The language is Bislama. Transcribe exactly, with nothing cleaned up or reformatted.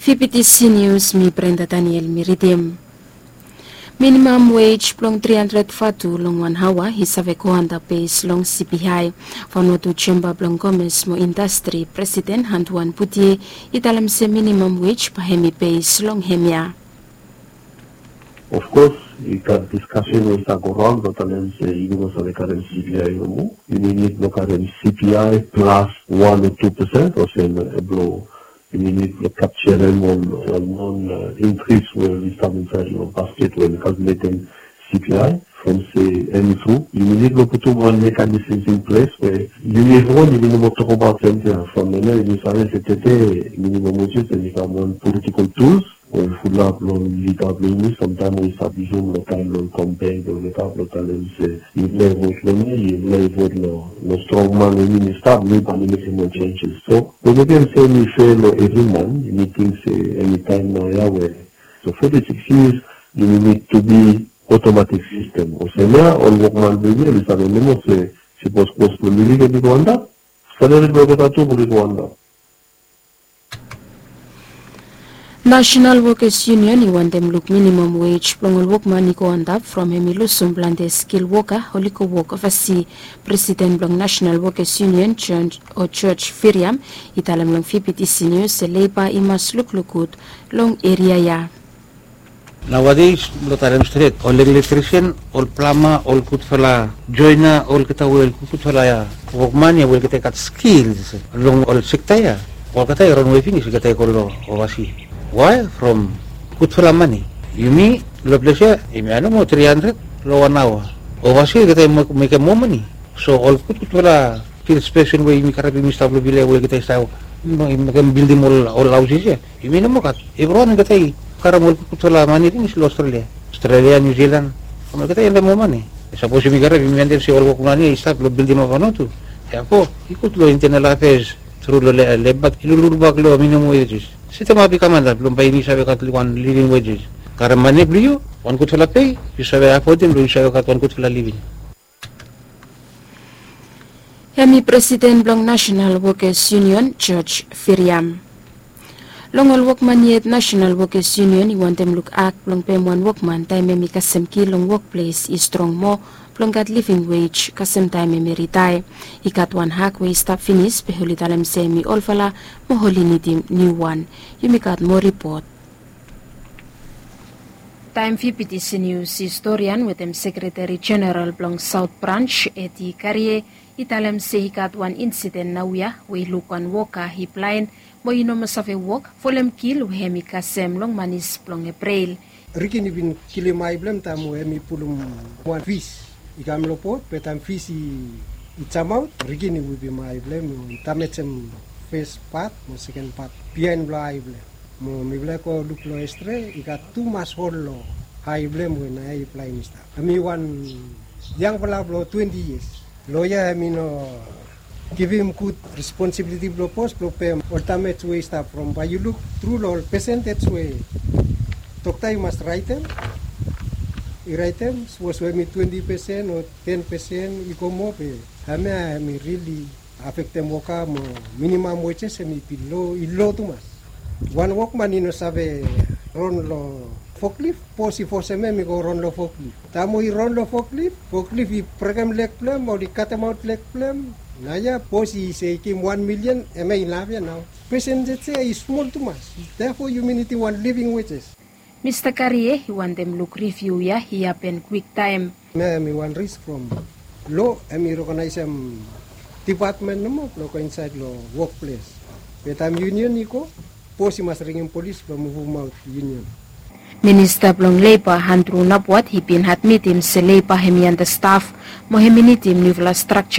Fifty C News, mi Brenda Daniel mi ridim. Minimam wage blong tri handred vatu long wan haoa i save go antap bes long C P I. Vanuatu Chamber blong Komes mo Indastri presiden Hantuan Butie i talem se minimam wage bae hemi bes long hemia. Of course, i gat diskasen we i stap go raon blong talem se yumi no save karem C P I nomo. Yumi nid blong karem C P I plas wan o tu pesen olsem blong yumi nid blong kapjarem ol non inkris we i stap insaed long basket we i kalkuletem C P I. From se hemi tru yumi nid blong putum wan mekanisms in ples we yumi evriwan yumi no moa tokbaot samting ya. From hemia yumi save se tede minimam wage hemi kam wan politikol tuls we fulap long lida blong yumi samtaem we i stap yusum long taem blong kampen blong olgeta blong talem se yufala i vot long mi, yufala i vot long strong man we yumi stap, mi bae mi mekem ol senses. So we mekem se mi fea long evri man, mi ting se hemi taem naoia we so foti sikis yias yumi nid tu bi otomatik sistem olsem ya ol wokman blong yumi oli save nomo se sipos kos blong living hemi go antap, salari blong olgeta tu oli go antap. Nasenal Wokas Yunion i wantem luk minimam wage blong ol wokman i go antap from hemi lusum plante skil woka oli go wok ovasi. Presiden blong Nasenal Wokas Yunion George Firiam i talem long Fifty C News se leiba i mas lukluk gud long eria ya. Naoades blong talem stret ol elektrisen, ol plama, ol gudfala joena, olgeta we ol gudfala wokman ya we olgeta i gat skils long ol sekta ya, olgeta i ronwe finis olgeta i go long ovasi. Wae? From gudfala mane. Yumi long ples ya yumi ya nomo tri handred long wan aoa. Ovasi olgeta i mekem moa mane. So ol gudgudfala skils pesen we yumi karem yumi stap long vila ya we olgeta i stap mekem bildim ol haosis ya. Yumi no moa gat. Evriwan olgeta i karem ol gudgudfala mane finis long Australia, Australia, New Zealand. Olgeta i wantem moa mane. Sapos yumi karem yumi wantem se ol wokman ya i stap long bildimap Vanuatu. Therefore i gud long Internal Affairs tru long leba i lulubak long minimam wages. Setemap i kam antap blong bae yumi save gat wan living wages. Karem mane blong yu, wan gudfala pei, yu save afodim blong yu save gat wan gudfala living. Hemi presiden blong Nasenal Wokas Yunion George Firiam. Long ol wokman yet Nasenal Wokas Yunion i wantem luk ak blong pem wan wokman taem hemi kasem ki long wokples i strong moa blong gat living wage kasem taem hemi ritaea. I gat wan ak we i stap finis be oli talem se hemi olfala mo oli nidim niuwan. Yumi gat moa ripot. Taem Fifty C News historian wetem sekreteri jeneral blong Saot Brans Eti Karie i talem se i gat wan insiden naoia we i luk wan woka i blaen mo i no moa save wok folem kil we hemi kasem long manis blong Eprel. Rikin i bin kilim ae blong hem taem we hemi pulum wan fis i kam long bot be taem fis i jamaot rikin i wipim ae blong hem mo i damejem fes pat mo seken pat biaen blong ae blong hem. Mo mifala i go luk long estre i gat tumas hol long ae blong hem we naoia i blaen i stap. Hemi wan yangfala blong twenti yias. Loea hemi no givim gud responsibiliti blong bos blong pem ol damej we i stap from bae yu luk tru long ol pesentej we dokta i mas raetem. I raetem sapos we hemi twenti pesen o ten pesen i go moa be hemia hemi rili afektem woka mo minimam wejes hemi bin lo i lo tumas. Wan wokman i no save ron long foklif, bos i fosem hem i go ron long foklif. Taem we i ron long foklif, foklif i brekem leg blong hem o i katemaot leg blong hem. Naoia bos i se i givim wan milian, hemia inaf ya nao. Pesentej ya i smol tumas. Therefore yumi nidim wan living wages. Mista Karie i wantem luk riviu ya i hapen kwiktaem. Hemia hemi wan risk from lo hemi rekonaesem dipatmen nomo blong go insaed long wokples. Be taem yunion i go, bos i mas ringim polis blong muvumaot yunion. Minista blong Leiba Andru Napwat i bin admitim se leiba hemi antastaf mo hemi nidim niufala strakja.